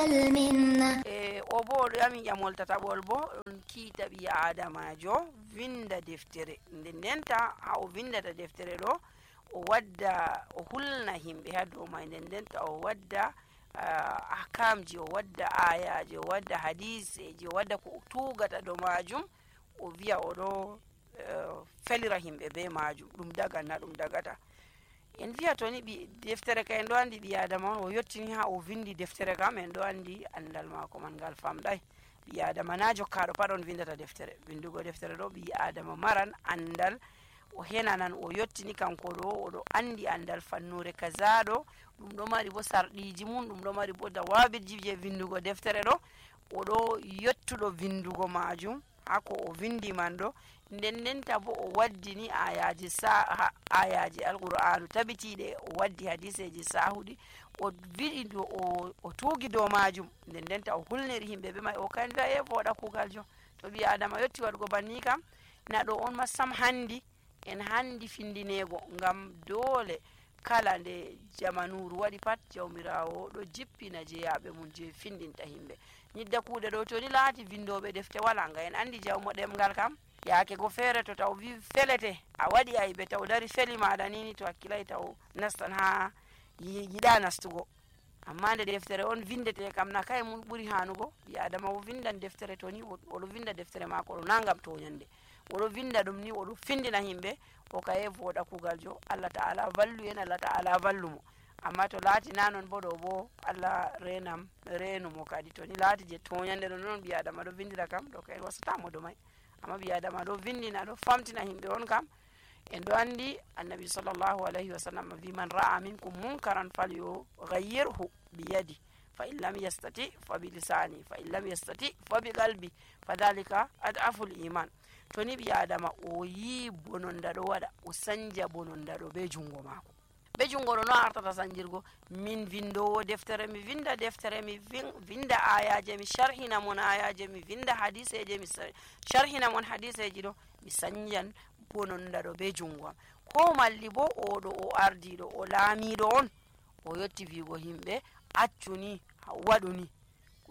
المنة. o bo ɗo yami ƴamol tataɓol bo ɗon kiita ɓi adamajo vinda deftere nden ndenta ha o vindata deftere ɗo o wadda o hulna himɓe ha dow mai nden ndenta o wadda ahkamji, o wadda ayaji, o wadda hadiseji, o wadda ko o tugata dow majum, o wiya oɗo felira himɓe be majum, ɗum dagan na ɗum dagata. En wiya to ni deftere ka en ɗo andi ɓi adama on o yettini ha o vindi deftere kam en ɗo andi andal mako man ngal famɗai. ɓi adama na jokkaɗo pat on vindata deftere. Vindugo deftere ɗo ɓi adama maran andal, o henanan o yettini kanko ɗo oɗo andi andal fannure kaza ɗo, ɗum ɗo mari bo sarɗiji mum, ɗum ɗo mari bo dawabirji je vindugo deftere ɗo, oɗo yettuɗo vindugo majum hako o vindi man ɗo, nden ndenta bo o waddini ayaji alqur'anu tabitiɗe, o waddi hadiseji sahuɗi, o viɗi o tugi dow majum, nden ndenta o hulniri himɓe be mai, o kan wi'a voɗa kugal jo. To ɓi adama yetti waɗugo banni kam na ɗo on ma sam handi en handi findinego, ngam dole kala nde jamanuru waɗi pat jawmirawo ɗo jippina jeyaɓe mum je findinta himɓe. Nyidda kuuɗe ɗo to ni laati vindoɓe defte wala, nga en andi jawmo ɗemgal kam yaake go feere to taw wi felete a waɗi aybe taw dari feli maɗa nini to hakkilai taw nastan ha yiɗa nastugo. Amma nde deftere on vindete kam na kay mum ɓuri hanugo. ɓi adama o vindan deftere to ni oɗo vinda deftere mako ɗo na ngam toñande, oɗo vinda ɗum ni oɗo findina himɓe, o kaye voɗa kugal jo. Allah ta'ala vallu en, Allah ta'ala vallumo. Amma to laati na non bo ɗo bo Allah renumo kadi. To ni laati je toñande ɗo non ɓi adama ɗo vindira kam ɗo kay wasatamo do mai. Amma ɓi adama ɗo vindina ɗo famtina himɓe on kam en ɗo andi annabi sallallahu alayhi wa sallam wi man ra'a minkum munkaran falyughayyirhu biyadi fa in lam yastati fa bi lisani fa in lam yastati fa bi qalbi fa dhalika ad'aful iman. To ni ɓi adama o yi bononda ɗo waɗa, o sanja bononda ɗo be jungo mako. Be jungo ɗo no artata sanjirgo. Min vindowo deftere mi vinda deftere, mi vinda ayaje mi sharhina mon ayaje, mi vinda hadiseje mi sharhina mon hadiseji ɗo, mi sanjan bononda ɗo be jungo am. Ko malli bo oɗo o ardiɗo o laamiɗo on, o yetti vigo himɓe accuni waɗuni,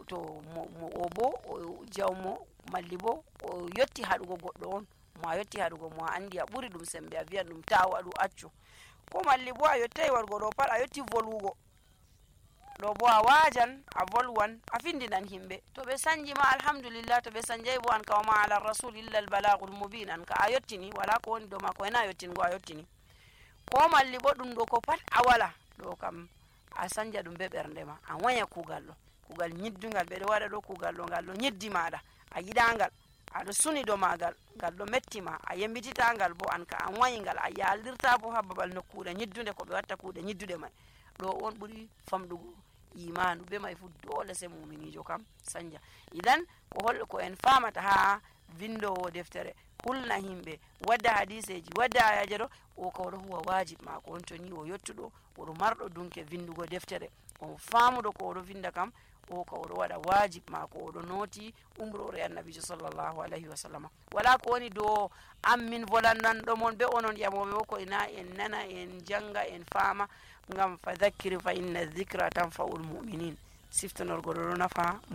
to o bo o jawmo malli bo o yetti haɗugo goɗɗo on, mo a yetti haɗugo mo a andi a ɓuri ɗum sembe, a wiyan ɗum ta waɗu accu. Ko malli bo a yettai waɗugo ɗo pat a yetti volugo ɗo bo a wajan a volwan a findinan himɓe. To ɓe sanji ma alhamdulillah, to ɓe sanjai bo an ka wa ma ala rasul illa al balagul mubin, an ka a yettini, wala ko woni dow ma ko ena yettingo a yettini. Ko malli bo ɗum ɗo ko pat a wala ɗo kam a sanja ɗum be ɓernde ma, a waya kugal ɗo, kugal nyiddungal ɓeɗo waɗa ɗo, kugal ɗo ngal ɗo nyiddi maɗa, a yiɗangal, aɗo suni dow magal, ngal ɗo mettima, a yembititangal bo an ka an wayingal, a yalirta bo ha babal nokkude nyiddude ko ɓe watta kuuɗe nyiddude mai. Ɗo on ɓuri famɗugo imanu, be mai fu dole sai muminijo kam sanja. Idan ko en famata ha vindowo deftere hulna himɓe, wadda hadiseji, wadda ayaje ɗo, o ka oɗo huwa wajib mako on. To ni o yettuɗo oɗo marɗo dunke vindugo deftere, o famuɗo ko oɗo vinda kam, o ka oɗo waɗa wajib mako, oɗo noti umrore annabijo sallallahu alayhi wa sallam. Wala ko woni dow an min volananɗo mon be onon ƴamoɓe bo ko ina en nana en janga en fama, ngam fa dhakkir fa inna dhikra tanfa'ul mu'minin. Siftanorgo ɗo nafa